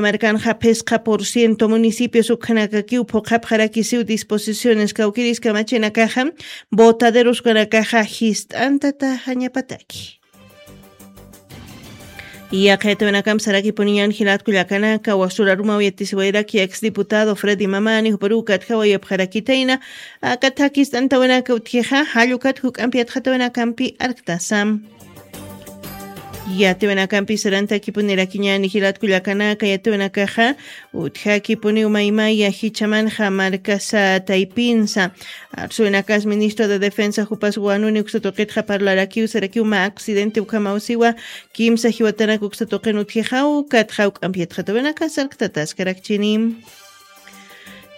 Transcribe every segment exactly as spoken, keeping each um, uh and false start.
Markanxa phisqa por ciento municipios ukhanakakiw phuqhapxarakisiw disposiciones kawkiris kamachinakaxa botaderos ukanakaxa jist'antataxañapataki. Yaqaytawinakampi sarakipuniñan jilatku llakanaka wasurarumaw yatisiwayraki ex diputado Freddy Mamani juparuw katjawayapxarakitayna. Akathakist'antawinaka utjixa jallukat juk'ampi yatxatawinakampi arktasam. Yatiwinakampi sarantakipunirakiñani jilatku llakanaka yatiwinakaxa utjakipuniw maymaya jichamanxa markasa taypinsa. Arsuwinakas ministro de defensa jupas wanuni uksatuqitxa parlarakiw sarakiw mä accidente ukhamawsiwa kimsa jiwatanak uksatuqin utjixaw katxaw k'ampiyatxatawinakas sarktataskarakchini.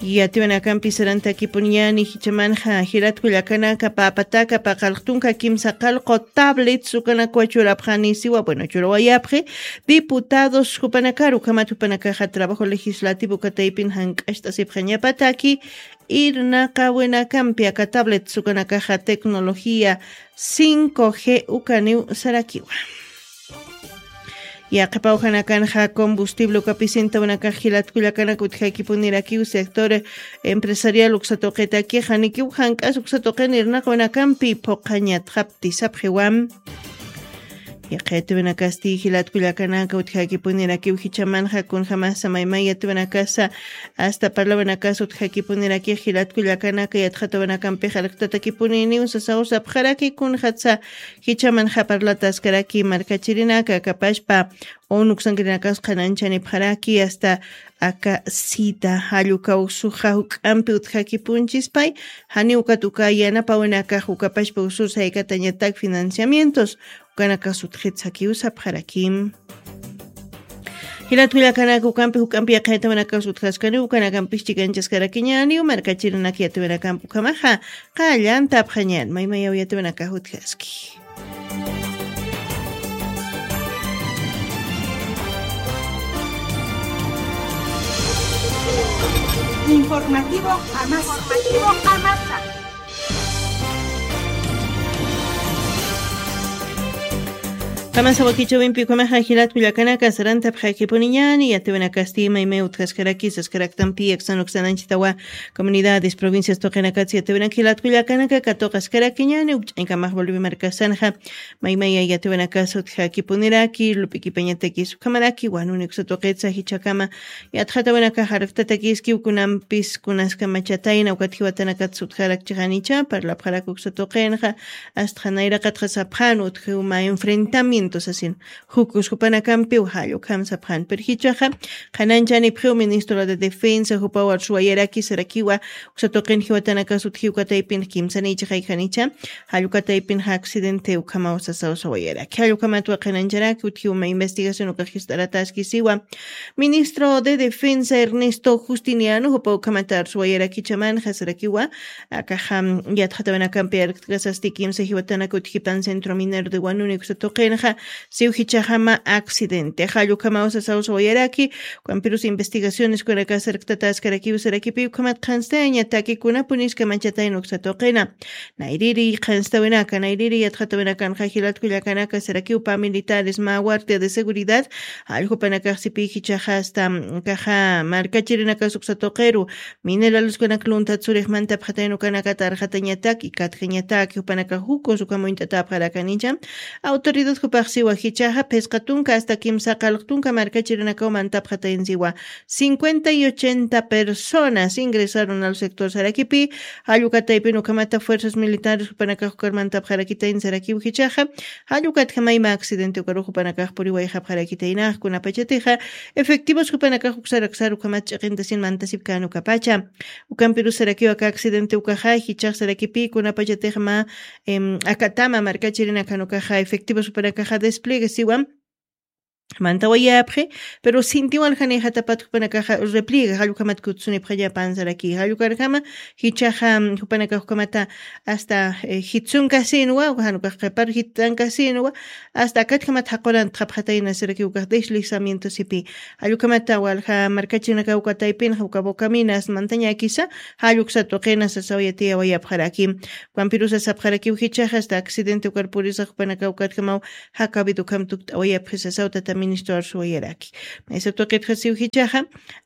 Yatiwinakampi sarantakipuniyani jichamanxa jilatku llakanaka papataka paqalqtunka kimsa qalqu tablets ukanakwa churapxanisiwa bueno churawayapxi diputados jupanakaru ukhamat jupanakaxa trabajo legislativo ukataypin jank'acht'asipxañapataki irnaqawinakampi aka tablets ukanakaxa tecnología cinco g ukaniw sarakiwa. Yaqipawjanakanxa combustible ukapisintawinakax jilatkullakanaka utjakipunirakiw sector empresarial uksatuqitakixa nikiw jank'as uksatuqin irnaqwinakampi phuqhañatxapti sapxiwam. Yaqaytiwinakasti jilatkullakanaka utjakipunirakiw jichamanxa kunjamasa maymayatiwinakasa asta parlawinakasa utjakipunirakix jilatkullakanaka yatxatawinakampix arktatakipuniniw sasaw sapxaraki kunjatsa jichamanxa parlataskaraki markachirinaka kapashpa unuksankirinakas qhananchanipxaraki asta aka sita jallukaw suxa juk'ampi utjakipunchispay janiw ukat uka yanapawinakax ukapashpa usursaykatañatak financiamientos ukanaka sutxit sakiw sapxarakim. Jilatkullakanaka ukampi juk'ampi yaqaytawinakax sutxaskaniw ukanakampis chikanchaskarakiñaniw markachirinak yatiwinakampi ukhamaxa qallantapxañan maymayaw yatiwinakax utjaski. Informativo Amasa. Informativo Amasa. Qamasa wakichawimpi ukhamaxa jilatkullakanaka sarantapxakipuniñani yatiwinakasti maymay utjaskaraki saskaraktampi aksan uksananchitawa comunidades provincias tuqinakatsi yatiwinak jilatkullakanaka katuqaskarakiñani ukch'aykamax volvi markasanxa maymaya yatiwinakas utjakipuniraki lup'ikipañatakis ukhamaraki wanuni uksatuqitsa jichhakama yatxatawinakax arktatakiskiw kunampis kunaskamachatayna ukat jiwatanakatsa utjarakchixanicha parlapxarak uksatuqinxa astxa nayraqatxa sapxan utjiw mä enfrentamiento sasin jukus jupanakampiw jallukam sapxan pero jichhaxa qhananchanipxiw ministro de defensa jupaw arsuwayaraki sarakiwa uksatuqin jiwatanakas utjiw kataypin kimsanïchixaykanicha jallukataypinxa accidente ukhamaw sasaw sawayaraki jallukamatwa qhanancharaki utjiw mä investigación ukax jist'arataskisiwa. Ministro de Defensa Ernesto Justiniano jupa ukhamata arsuwayarakichaman jasarakiwa akaxa yatxatawinakampi arkt'kasasti kimsa jiwatanak utjipan centro minero de wanuni uksa tuqinxa siw jichhaxama accidente jallukamaw sasaw sawayaraki. Ukampirus investigaciones kunaka sarktataskarakiw sarakipi ukhamat qhanstayañataki kunapunis kamachatayn uksa tuqina nayriri qhanstawinaka nayriri yatxatawinakanxa jilatkullakanaka sarakiw pamilitares mä guardia de seguridad jalljupanakaxsipi jichhaxa asta kaxa markachirinakas uksa tuqiru mineraleskunak luntat surix mantapxatayn ukanakata arxatañatak ikatjañatak jupanakax jukus ukham uñt'atapxarakanicha autoridad jupaxsiwa jichhaxa phisqa tunka asta kimsa qalq tunka markachirinakaw mantapxataynsiwa cincuenta y ochenta personas ingresaron al sector sarakipi jallukataypin ukhamata fuerzas militares jupanakax ukarmantapxarakitayn sarakiw jichhaxa jallukatjamayma accidente ukarux jupanakax puriwayxapxarakitaynax kunapachatixa efectivos jupanakax uksaraksar ukhamat ch'iqintasin mantasipkän ukapacha ukampirus sarakiw aka accidente ukaxa jichhax sarakipi kunapachatix mä akatama markachirinakan ukaxa efectivos jupanakaxa despliegue siwam mantawayapxi pero sintiwal janixatapat jupanakaxa repliega jallukhamat kutsunipxañapan saraki jallukarjama jichhaxa jupanakax ukhamata asta jitsunkasinwa jan ukax qhipar jittankasinwa asta akatjamata jaqurantxapxatayna saraki ukax deslizamiento sipi jallukhamata walja markachirinakaw ukataypinxa uka bocaminas mantañakisa jalluksa tuqina sasaw yatiyawayapxaraki ukampirusa sapxarakiw jichhaxa asta accidente ukar purisa jupanakaw ukatjamaw jakawidu ukham tukt'awayapxi sasaw tata ministro arsuwayaraki. Maysa tuqitxa siw jichaxa,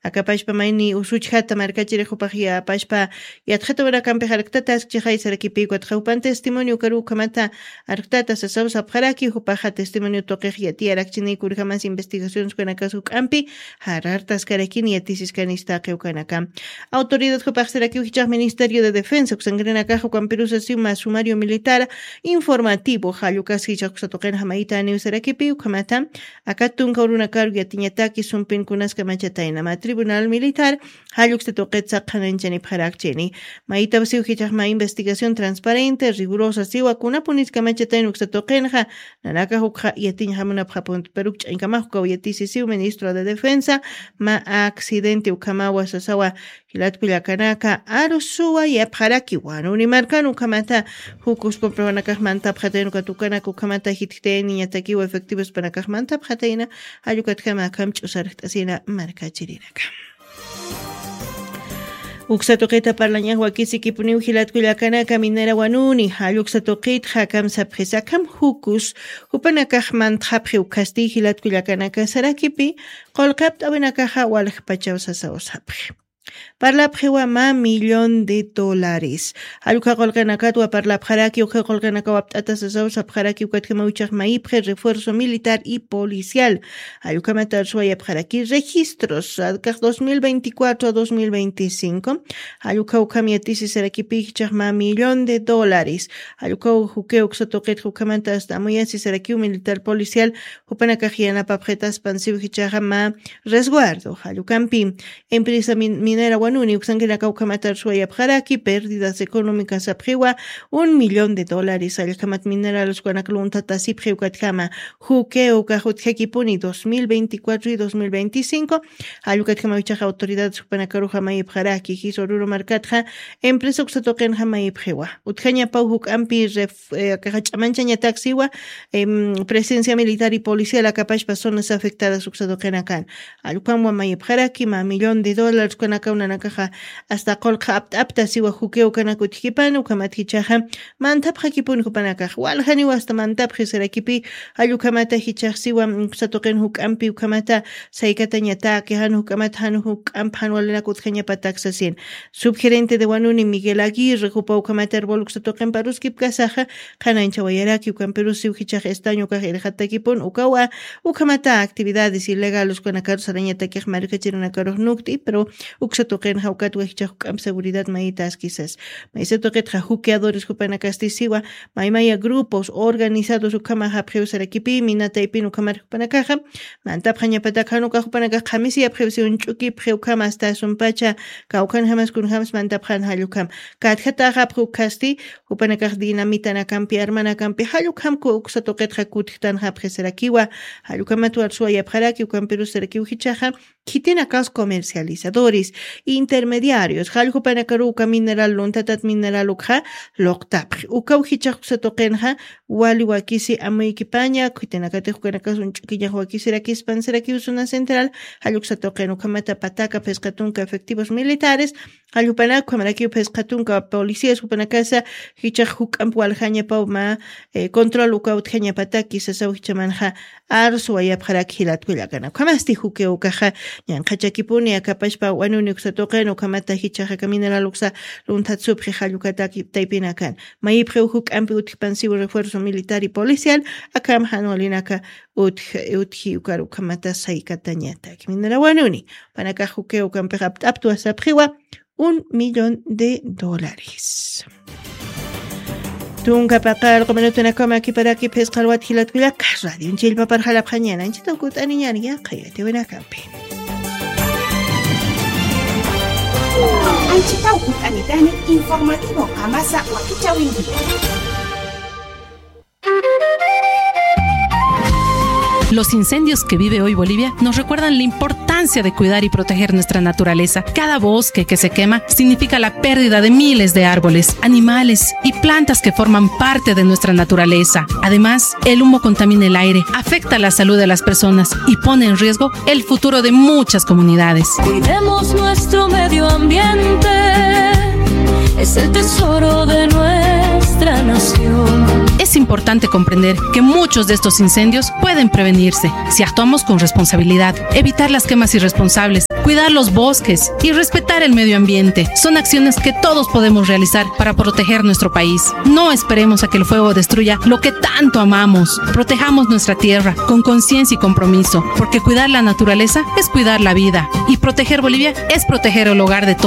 akapashpa mayni usuchjata markachirix jupax yapashpa yatxatawanakampi jarktata askchixay sarakipiw katxa jupan testimonio karu ukhamata arktata sasaw sapxaraki, jupaxa testimonio tuqix yatiyarakchiniy kurjamas investigaciones kanakas juk'ampi jarartaskarakini yatisiskani istaqi ukanaka. Autoridad jupaxsarakiw jichax Ministerio de Defensa uksankirinakax ukampirusasiw mä sumario militar informativo jallukas jichax uksa tuqinxa maytaniw sarakipi ukhamata aka tunka urunakaru yatiñataki sumpin kunas kamachatayna mä tribunal militar jalluksa tuqit saqhananchanipxarakchini. Maytawsiw jichax mä investigación transparente rigurosa siwa kunapunis kamachatayna uksa tuqinxa nanakax ukxa yatiñjamunapxapunti peruk ch'añkamax ukaw yatisisiw ministro de Defensa mä accidente ukhamawa sasawa jilatkullakanaka arusuwa yapxaraki wanuni markan ukhamata jukus comprobanakax mantapxatayna ukat ukanak ukhamata jitjtayniñatakiwa efectivospanakax mantapxatayna jallukatjama akham ch'usarjt'asina markachirinaka. Uksa tuqita parlañax wakisikipuniw jilatkullakanaka minera wanuni jalluksa tuqitxa akham sapxisa akham jukus jupanakax mantxapxi ukhasti jilatkullakanaka sarakipi qullqi apt'awinakaxa waljpachaw sasaw sapxi. Parlapxiwa mä millón de dólares. Jallukha qullqinakatwa parlapxaraki ukha qullqinakaw apt'ata sasaw sapxaraki ukatjamaw ichax mayipxi refuerzo militar y policial. Jallukhamat arsuwayapxaraki registros akax dos mil veinticuatro a dos mil veinticinco. Jallukha ukham yatisisarakipi jichax mä millón de dólares. Jallukhaw jukiw uksa tuqitxa ukhamata asta amuyasisarakiw militar policial jupanakax yanapapxitaspan siw jichaxa mä resguardo jallukampi. Empresa min- minera wanuni uksankinaka ukhamata arsuwayapxaraki pérdidas económicas sapxiwa un millón de dólares jallkhamat minerales ukanak luntatasipxi ukatjama. Jukiw ukax utjakipuni dos mil veinticuatro y dos mil veinticinco. Jallukatjamaw ichaxa autoridades jupanakaruxa mayipxaraki jisa ururu markatxa empresa uksa tuqinxa mayipxiwa utjañapaw juk'ampi ref- eh, akaxa ch'amanchañataksiwa em, presencia militar y policial akapashpa zonas afectadas uksa tuqinakan. Jallukhamwa mayipxaraki mä millón de dólares ukanakaw nanakaxa asta qullqi apt'apta siwa jukiw ukanak utjkipani ukhamat jichaxa mantapxakipuni jupanakax waljaniwa asta mantapxi sarakipi. Jallukhamata jichax siwa uksa tuqin juk'ampi ukhamata saykatañataki jan juk'amata jan juk'amp jan walinak utjañapatak sasin. Subgerente de wanuni Miguel Aguirre jupa ukhamat arbol uksa tuqin paruskipkasaxa qhananchawayaraki ukampirusiw jichax estaño ukax irxatakipun ukawa ukhamata actividades ilegales ukanakaru sarañatakix markachirunakarux nukt'i pero uksa tuqinxa ukatwa jichax juk'amp seguridad mayitaskisas. Maysa tuqitxa juqueadores jupanakasti siwa maymaya grupos organizados ukhamax apxiw sarakipi minataypin ukhamar jupanakaxa mantapxañapatak jan ukax jupanakax qhamisiyapxiw siw unch'ukipxi ukham asta sumpacha kawkhanjamas kunjamas mantapxan jallukham. Katjataxapxi ukhasti jupanakax dinamita nakampi arma nakampi jallukhamku uksa tuqitxa kutjtanxapxi sarakiwa. Jallukhamat warsuwayapxaraki ukampirus sarakiw jichaxa khitinakas comercializadores intermediarios jalljupanakaru uka mineral luntatat mineral ukxa luqtapxi ukaw jichax uksa tuqinxa wali wakisi amuykipaña khitinakatix ukanakas unch'ukiñax wakisirakispan sarakiw zona central. Jalluksa tuqin ukhamata pataka phisqa tunka efectivos militares jalljupanak ukhamarakiw phisqa tunka policías jupanakasa jichax juk'amp waljañapaw mä eh, control uka utjañapataki sasaw jichamanxa arsuwayapxaraki jilatkullakana ukhamasti jukiw ukaxa ñanqhachakipuni akapashpa wanuni uksa tuqin ukhamata jichaxa aka mineral uksa lunthat supxi jallukataki taypinakan mayipxiw juk'ampi utjpan siw refuerzo militar y policial akham jan walinaka utj utji ukar ukhamata saykatañatak minera wanuni panakax jukiw ukampix apt'aptwa sapxiwa un millón de dólares. Tunka paqar quminutunakama kiparaki phisqalwat jilatkullaka radio chillpapar jalapxañana anchitaw kut'aniñani yaqha yatiwinakampi. Anchitaw kut'anitani informativo qamasa wakichawinki. Los incendios que vive hoy Bolivia nos recuerdan la importancia de cuidar y proteger nuestra naturaleza. Cada bosque que se quema significa la pérdida de miles de árboles, animales y plantas que forman parte de nuestra naturaleza. Además, el humo contamina el aire, afecta la salud de las personas y pone en riesgo el futuro de muchas comunidades. Cuidemos nuestro medio ambiente, es el tesoro de nuestra Es importante comprender que muchos de estos incendios pueden prevenirse si actuamos con responsabilidad. Evitar las quemas irresponsables, cuidar los bosques y respetar el medio ambiente son acciones que todos podemos realizar para proteger nuestro país. No esperemos a que el fuego destruya lo que tanto amamos. Protejamos nuestra tierra con conciencia y compromiso, porque cuidar la naturaleza es cuidar la vida y proteger Bolivia es proteger el hogar de todos.